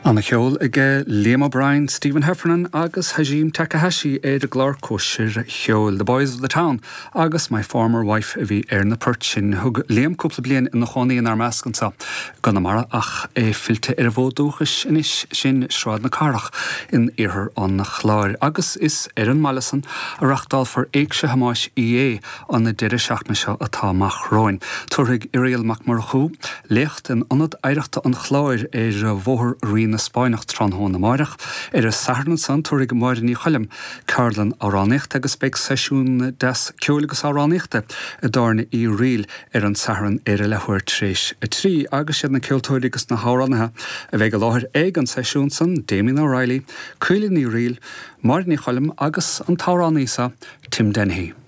Ana-cheol aige Liam O'Brien, Stephen Heffernan agus Hajime Takahashi ar an gclár Cóisir Cheoil. The Boys of the Town agus My Former Wife a bhí ar na poirt sin. Thug Liam cúpla bliain ina chónaí inár measc anseo i gConamara ach é fillte ar an bhfód dúchais anois, sin Sráid na Cathrach in iarthar an Chláir. Agus is ar an mbaile san a reachtálfar Éigse Thomáis Uí Dhé an deireadh seachtaine seo atá amach romhainn. Tabharfaidh Irial Mac Murchú léacht in Ionad Oidhreachta an Chláir ar Bhóthar Rí na Spáinneach tráthnóna amáireach. Ar an Satharn ansan tabharfaidh Máire Ní Choilm ceardlann amhránaíochta agus beidh seisiún deas ceoil agus amhránaíochta i dTábhairne Uí Fhrighil ar an Satharn ar a leathuair tar éis a 3 agus siad na ceoltóirí agus na hamhránaithe a bheidh i láthair ag an seisiún san, Damien O'Reilly, Caoilfhionn Ní Fhrighil, Máire Ní Choilm agus an t-amhránaí seo, Tim Dennehy.